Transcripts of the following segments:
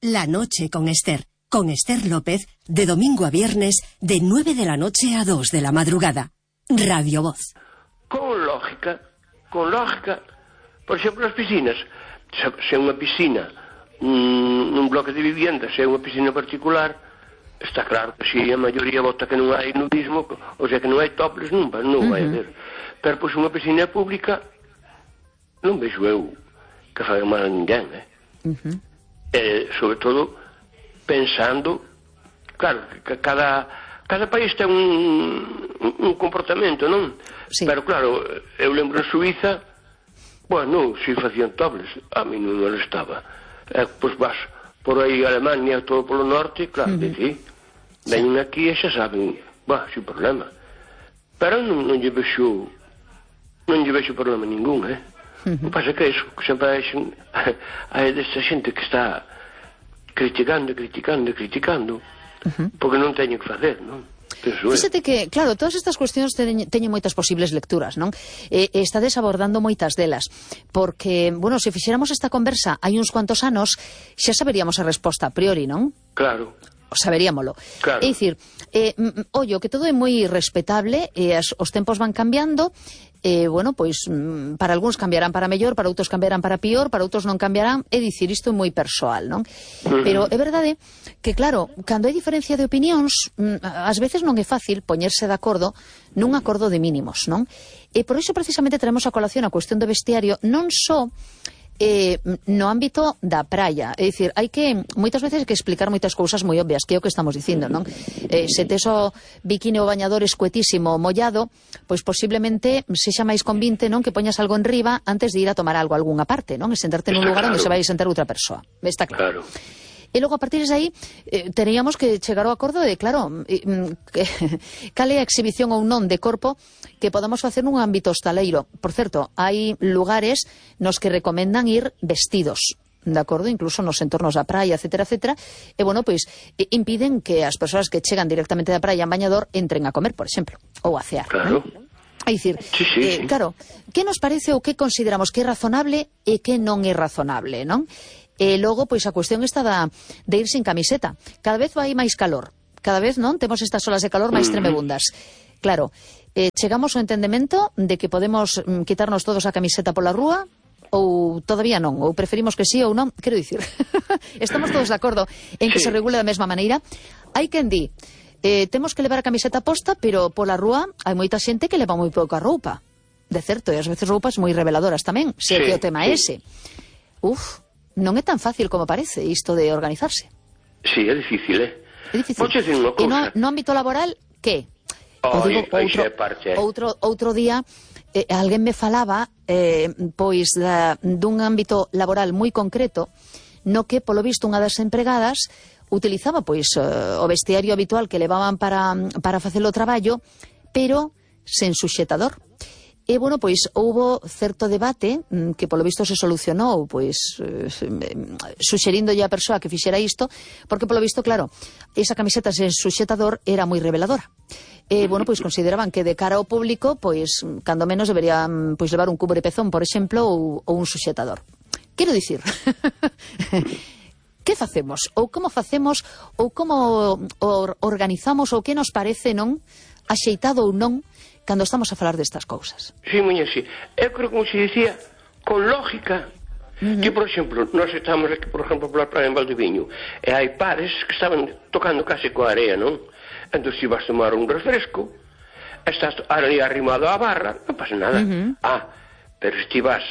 La noche con Esther López, de domingo a viernes, de 9 de la noche a 2 de la madrugada. Radio Voz. Con lógica, por exemplo, as piscinas, se é unha piscina nun bloque de vivienda, se é unha piscina particular, está claro que se a maioría vota que non hai nudismo, ou sea que non hai topless, non vai haber. Pero pois unha piscina pública non vexo eu que faga mal a ninguén, sobre todo pensando, claro, que cada país ten un comportamento, non? Sí. Pero claro, eu lembro en Suiza, bueno, si facían topless, a mí non molestaba. Pois vas por aí Alemania, todo polo norte, claro, sí. Veñen aquí e xa saben, sin problema. Pero non lle vexo problema ningún, O que pasa é que iso, que sempre hai desta xente que está criticando, porque non teñen que facer, non? Fíxate que, claro, todas estas cuestións teñen moitas posibles lecturas, non? Estades abordando moitas delas, porque, bueno, se fixéramos esta conversa hai uns cuantos anos, xa saberíamos a resposta a priori, non? Claro. Saberíamolo. Claro. É dicir, ollo, que todo é moi respetable, os tempos van cambiando, bueno, pois, para algúns cambiarán para mellor, para outros cambiarán para pior, para outros non cambiarán, é dicir, isto é moi persoal, non? Pero é verdade que, claro, cando hai diferencia de opinións, ás veces non é fácil poñerse de acordo nun acordo de mínimos, non? E por iso precisamente traemos a colación a cuestión do vestiario, non só no ámbito da praia, é dicir, hai que moitas veces que explicar moitas cousas moi obvias, que é o que estamos dicindo, non? Se tes o biquini ou bañador escuetísimo mollado, pois posiblemente sexa máis convinte, non, que poñas algo en riba antes de ir a tomar algo a algunha parte, non? E sentarte nun lugar onde se vai a sentar outra persoa. Está claro. E logo, a partir de aí, teríamos que chegar ao acordo de, claro, cal é a exhibición ou non de corpo que podamos facer nun ámbito hostaleiro. Por certo, hai lugares nos que recomendan ir vestidos, de acordo, incluso nos entornos da praia, etcétera, etcétera, e, bueno, pois, impiden que as persoas que chegan directamente da praia en bañador entren a comer, por exemplo, ou a cear. Claro. É dicir, sí. Claro, que nos parece ou que consideramos que é razonable e que non é razonable, non? E logo, pois, a cuestión está de ir sin camiseta. Cada vez vai máis calor. Cada vez, non? Temos estas olas de calor máis tremebundas. Claro, chegamos ao entendemento de que podemos quitarnos todos a camiseta pola rúa ou todavía non? Ou preferimos que sí ou non? Quero dicir, estamos todos de acordo en que se regule da mesma maneira. Hai quen di, temos que levar a camiseta posta, pero pola rúa hai moita xente que leva moi pouca roupa. De certo, e ás veces roupas moi reveladoras tamén, se que o tema é ese. Non é tan fácil como parece isto de organizarse. Sí, é difícil, É difícil. E no ámbito laboral, que? Outro día, alguén me falaba, pois, dun ámbito laboral moi concreto, no que, polo visto, unha das empregadas utilizaba, pois, o vestiario habitual que levaban para facer o traballo, pero sen suxetador. E, bueno, pois, houbo certo debate que, polo visto, se solucionou, pois, suxerindolle a persoa que fixera isto, porque, polo visto, claro, esa camiseta sen suxetador era moi reveladora. E, bueno, pois, consideraban que de cara ao público, pois, cando menos deberían, pois, levar un cubrepezón, por exemplo, ou un suxetador. Quero dicir, que facemos? Ou como facemos? Ou como organizamos? Ou que nos parece, non? Axeitado ou non? Cando estamos a falar destas cousas. Sí, muñe, sí. Eu creo, como se dicía, con lógica, que, por exemplo, nós estamos aquí, por exemplo, pola praia en Valdeviño, e hai pares que estaban tocando case coa area, non? Entón, se vas tomar un refresco, estás ali arrimado á barra, non pasa nada. Pero se ti vas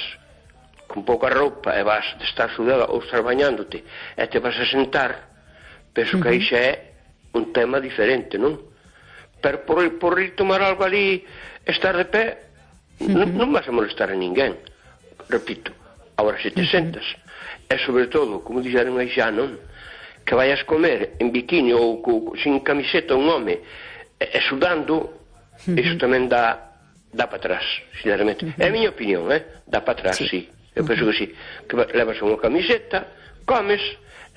con pouca roupa e vas de estar sudada ou estar bañándote e te vas a sentar, penso que aí xa é un tema diferente, non? Pero por ir tomar algo ali, estar de pé, non vas a molestar a ninguén. Repito, agora se te sentas, e sobre todo, como dixeron aí xa, non? Que vayas comer en biquini ou sin camiseta un home e sudando, iso tamén dá para atrás, sinceramente. É a miña opinión, dá para atrás, sí. Eu penso que sí. Que levas unha camiseta, comes,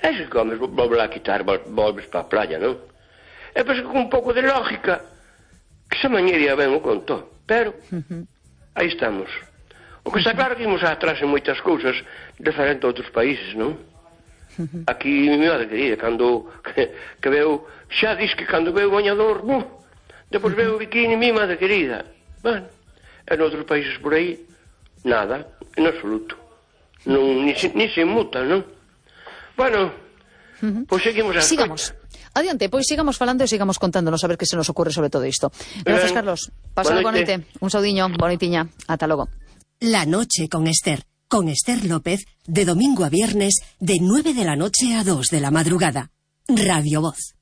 e se comes, volves a quitar, volves para a playa, non? Eu penso que con un pouco de lógica, que esa mañería ben o conto, pero aí estamos. O que está claro que imos atrás en moitas cousas diferente a outros países, non? Aquí, mi madre querida, cando que veo, xa dis que cando veo o bañador, depois veo o bikini, mi madre querida. Bueno, en outros países por aí, nada, en absoluto. Non, ni se muta, non? Bueno, pois seguimos as Sigamos. Adiante, pois sigamos falando e sigamos contándonos a ver que se nos ocurre sobre todo isto. Gracias, Carlos. Pasa boa noite. Un saudiño, bonitiña. Ata logo. La noche con Esther López, de domingo a viernes, de 9 de la noche a 2 de la madrugada. Radio Voz.